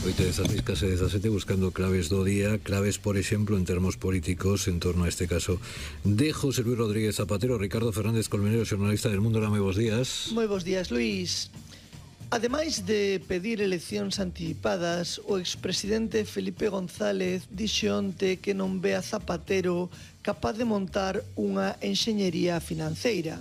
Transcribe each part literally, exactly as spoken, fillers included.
oito dezasseis, case dezasete, buscando claves do día, claves, por exemplo, en termos políticos, en torno a este caso de José Luis Rodríguez Zapatero. Ricardo Fernández Colmenero, xornalista del Mundo. Moi bons días. Moi bons días, Luís. Ademais de pedir eleccións anticipadas, o expresidente Felipe González dixo onte que non ve a Zapatero capaz de montar unha enxeñería financeira.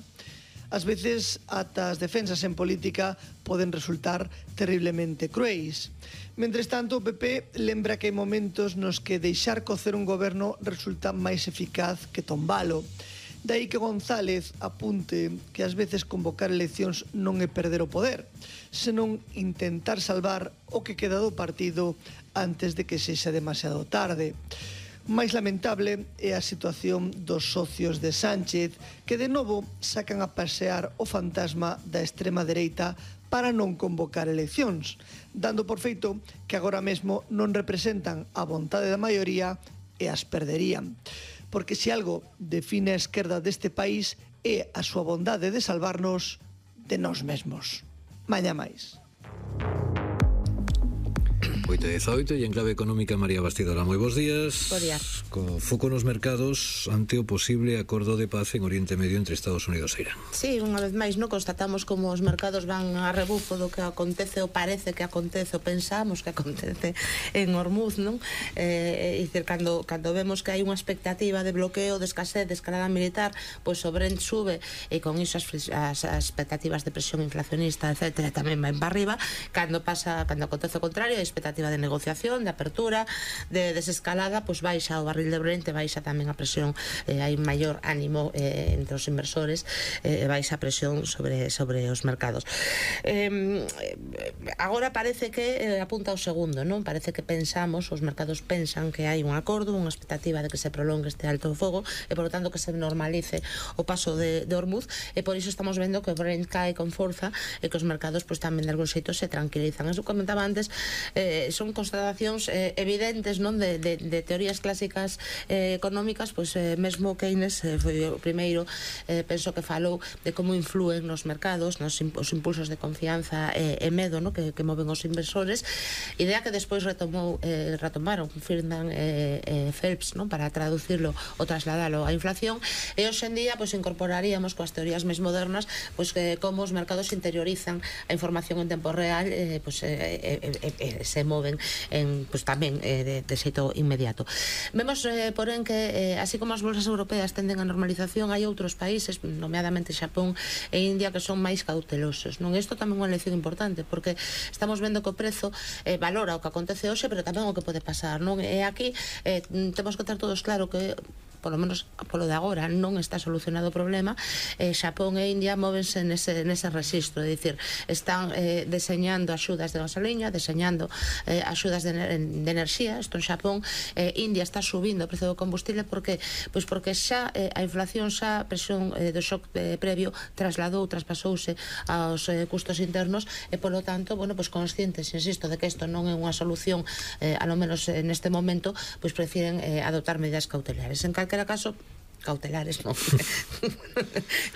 Ás veces, ata as defensas en política poden resultar terriblemente cruéis. Mentres tanto, o P P lembra que hai momentos nos que deixar cocer un goberno resulta máis eficaz que tombalo. Daí que González apunte que ás veces convocar eleccións non é perder o poder, senón intentar salvar o que queda do partido antes de que sexa demasiado tarde. Máis lamentable é a situación dos socios de Sánchez, que de novo sacan a pasear o fantasma da extrema dereita para non convocar eleccións, dando por feito que agora mesmo non representan a vontade da maioría e as perderían. Porque se algo define a esquerda deste país é a súa bondade de salvarnos de nós mesmos. Mañá máis. oito dezaoito e en clave económica, María Bastidora. Moi bons días. Bos días. Co foco nos mercados ante o posible acordo de paz en Oriente Medio entre Estados Unidos e Irán. Sí, unha vez máis, no constatamos como os mercados van a rebufo do que acontece ou parece que acontece ou pensamos que acontece en Hormuz, non? Eh, e dicir, cando, cando vemos que hai unha expectativa de bloqueo, de escasez, de escalada militar, pois o Brent sube e con iso as, as, as expectativas de presión inflacionista, etcétera, tamén van para arriba. Cando pasa, cando acontece o contrario, a expectativa de negociación, de apertura, de desescalada, pois baixa o barril de Brent, baixa tamén a presión, eh, hai maior ánimo eh, entre os inversores, eh, baixa a presión sobre, sobre os mercados. Eh, agora parece que eh, apunta ao segundo, non? Parece que pensamos, os mercados pensan que hai un acordo, unha expectativa de que se prolongue este alto fogo e, por lo tanto, que se normalice o paso de, de Hormuz, e por iso estamos vendo que o Brent cae con forza e que os mercados pois tamén de algún xeito se tranquilizan. Eso comentaba antes, eh, son constatacións eh, evidentes, non, de, de, de teorías clásicas eh, económicas, pois eh, mesmo Keynes eh, foi o primeiro, eh, penso que falou de como influen nos mercados, nos imp os impulsos de confianza e, e medo, no, que, que moven os inversores, idea que despois retomou, eh, retomaron Friedman e eh, eh, Phelps, non, para traducirlo ou trasladalo á inflación, e hoxe en día pois incorporaríamos coas teorías máis modernas pois que como os mercados interiorizan a información en tempo real, eh, pois eh, eh, eh, eh, se moven en, pues, tamén eh, de, de xeito inmediato. Vemos, eh, porén, que eh, así como as bolsas europeas tenden a normalización, hai outros países, nomeadamente Xapón e India, que son máis cautelosos, non? Isto tamén é unha lección importante, porque estamos vendo que o prezo eh, valora o que acontece hoxe, pero tamén o que pode pasar, non? E aquí eh, temos que ter todos claro que polo menos polo de agora non está solucionado o problema. eh, Xapón e India móvense nese, nese registro, é dicir, están eh, deseñando axudas de gasoliña, deseñando eh, axudas de, de enerxía. Isto en Xapón, eh, India está subindo o prezo do combustible porque pois porque xa eh, a inflación, xa a presión eh, do shock eh, previo trasladou, traspasouse aos eh, custos internos, e polo tanto, bueno, pois conscientes, insisto, de que isto non é unha solución, eh, a lo menos eh, neste momento, pois prefiren eh, adoptar medidas cautelares. En calquera caso, cautelares, non,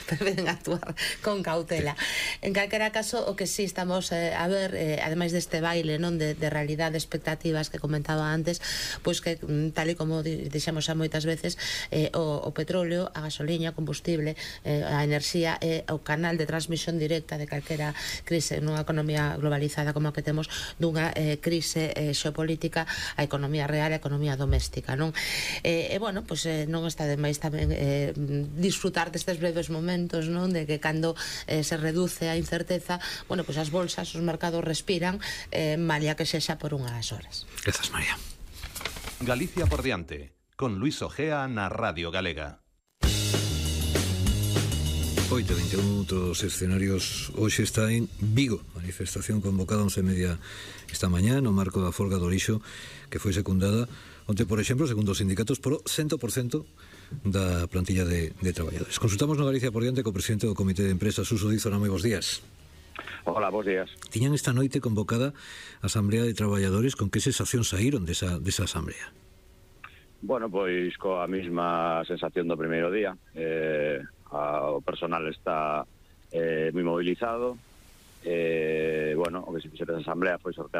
preferen actuar con cautela. En calquera caso, o que sí estamos eh, a ver, eh, ademais deste baile, non, de, de realidade, expectativas que comentaba antes, pois que tal e como dixemos xa moitas veces, eh, o, o petróleo, a gasoliña, o combustible, eh, a enerxía é o canal de transmisión directa de calquera crise nunha economía globalizada como a que temos, dunha eh, crise eh, xeopolítica, a economía real, a economía doméstica, non? E, eh, bueno, pois eh, non está de máis tamén Eh, disfrutar destes breves momentos, non, de que cando eh, se reduce a incerteza, bueno, pois as bolsas, os mercados respiran, eh, malia que sexa por unhas horas. Grazas, María. Galicia por diante, con Luis Ojea na Radio Galega. oito e veintiún, outros escenarios. Hoxe está en Vigo, manifestación convocada once e media esta mañá no marco da folga do lixo, que foi secundada onte, por exemplo, segundo os sindicatos, por cento por cento da plantilla de, de traballadores. Consultamos no Galicia por diante co presidente do Comité de Empresas, Suso Díaz. Moi bons días. Hola, bons días. Tiñan esta noite convocada a Asamblea de Traballadores. Con que sensación saíron desa, desa asamblea? Bueno, pois coa mesma sensación do primeiro día. Eh, a, o personal está eh, moi mobilizado. Eh, bueno, o que se fixera esa asamblea foi sortear